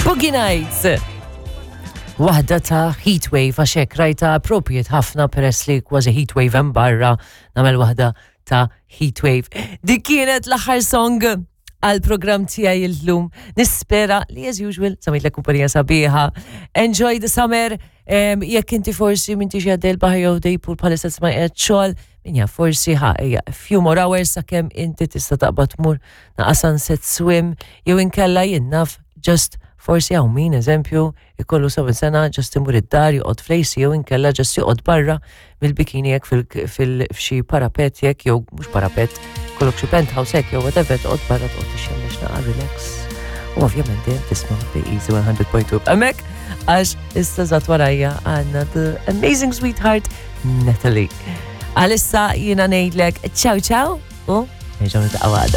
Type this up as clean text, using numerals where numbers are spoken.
Boogie Nights. Waħda ta' Heatwave għax hekk rajta appropriate ħafna peress li kważi Heatwave hemm barra nagħmel waħda ta' Heatwave. Dik kienet l-aħħar song għal program tiegħi illum. Nispera li as usual samitlek kumpanija sabiħa. Enjoy the summer. Jekk inti forsi m'intix għaddej l-baħar jew dej pool bħalissa tisma' qiegħed xogħol, min jaf forsi ħa ejja a few more hours sakemm inti tista' taqbad tmur naqa' sunset swim jew inkella jien naf just forsi hawn min eżempju ikollu 70 sena just imur id-dar joqgħod fl-AC jew inkella just joqgħod barra mill-bikini jekk fil-fxi parapet jekk jew mhux parapet kollok xi penthouse hekk jew whatever toqgħod barra toqgħod tixxemmex naqa' relax. U ovvjament dejjem tisma' The Easy 100.2 hemmhekk għax issa żgħat warajja għandna The Amazing Sweetheart Natalie. Għalissa jiena ngħidlek ciao ciao u nerġgħu niltaqgħu għada.